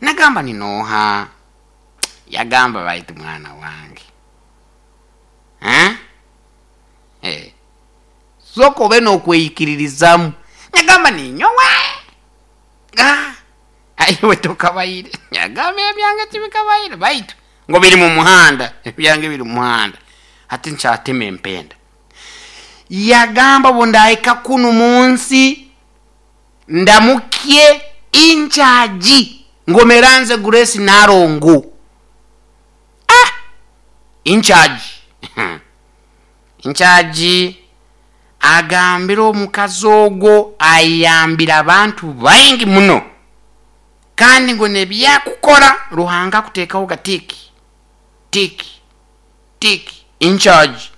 Nagamba ninooha? Yagamba baitu mwana wange. Eh? Eh. Sooka obe n'okweyikiririzamu. Nagamba ninyowe. Ah, aiwe tokabaire. Yagamba ebyange tibikabaire baitu ngo biri mu muhanda, ebyange biri mu muhanda. Hati nkyatema empenda. Yagamba obu ndahika kunu mu nsi ndamukye incharge ngomeranze Grace Narongo. Ah! Incharge. Incharge agambire omukazi ogwo ayambire abantu baingi muno kandi ngu nebyakukora Ruhanga akuteekaho ga tick tick tick incharge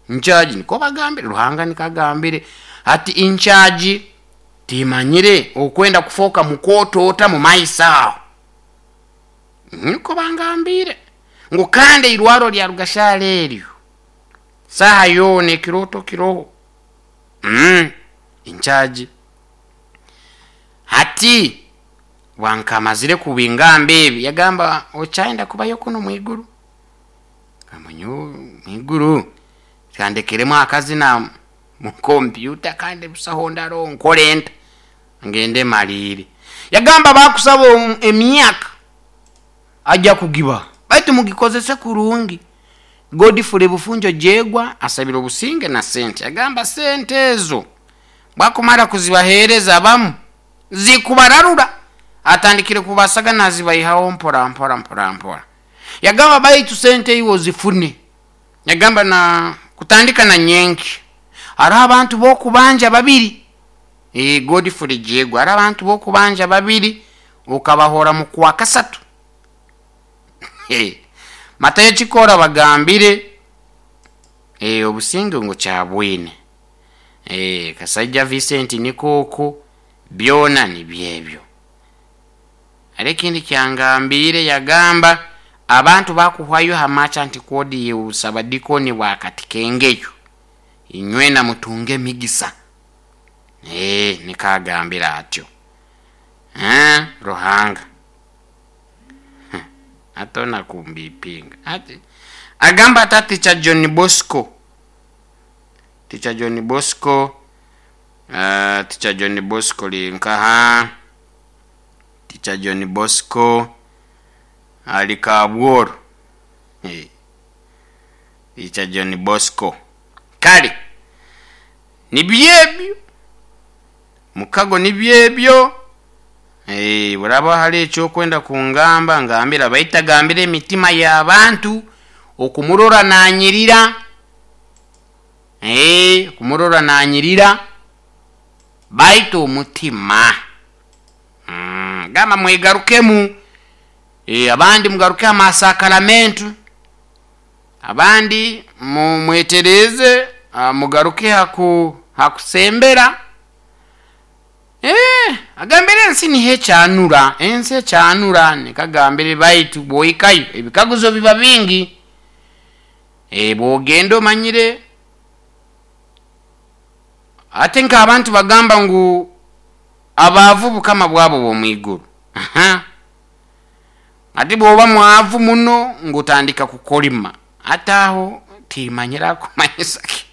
incharge niko bagambire Ruhanga niko agambire ati incharge timanyire okwenda kufooka mukooto ota mu maiso aho niko bangambiire ngu kandi eirwaro lya Rugashara eryo saaha yoona ekirooto kiroho incharge hati bwankamazire kubingamba ebi yagamba okyayenda kubayo kunu mwiguru gamba nyowe mwiguru kandekeremu akazina mu kompyuta kandi busaho ndaro nkore nta ngende maliire yagamba bakusaba emyaka ajja kugiba baitu mugikozese kurungi. Godfrey Bufunjo Jegwa asabire obusinge na sente yagamba sente ezo bwakumara kuzibahereza abamu zikubararura atandikire kubasaga nazibaihaho mpora mpora mpora mpora yagamba baitu sente iwe ozifune yagamba na kutandika na nyenki hariho abantu b'okubanja babiri Godfrey Jegwa hariho abantu b'okubanja babiri okabahora mu kwa kasatu Matayo Kikora bagambire obusinge ngu kyabwine Kasaija Vincent nikooko byona nibyebyo hariho ekindi kyangambire yagamba abantu bakuhwayo ha merchant code y'obusabadikoni bwa Katikengeyo inywena mutunge emigisa niko agambire atyo Ruhanga atona kumbipinga ati agamba ata Teacher John Bosco Teacher John Bosco Teacher John Bosco linkaha Teacher John Bosco ali Kabworo Teacher John Bosco kale nibyebyo mukago nibyebyo buraba hali ekyokwenda kungamba ngambira baitu agambire emitima y'abantu okumurora nanyirira okumurora nanyirira baitu omutima gamba mwegarukemu abandi mugaruke amasakaramentu abandi mwetereze mugaruke hakusembera agambire ensi niho ekyanura ensi ekyanura nikagambire baitu bwoikayo ebikaguzo biba bingi bwogenda omanyire ate nk'abantu bagamba ngu abaavu bukama bwabo bw'omwiguru ati bwoba mwavu muno ngutandika kukolima ate aho timanyira kumanyisa ki.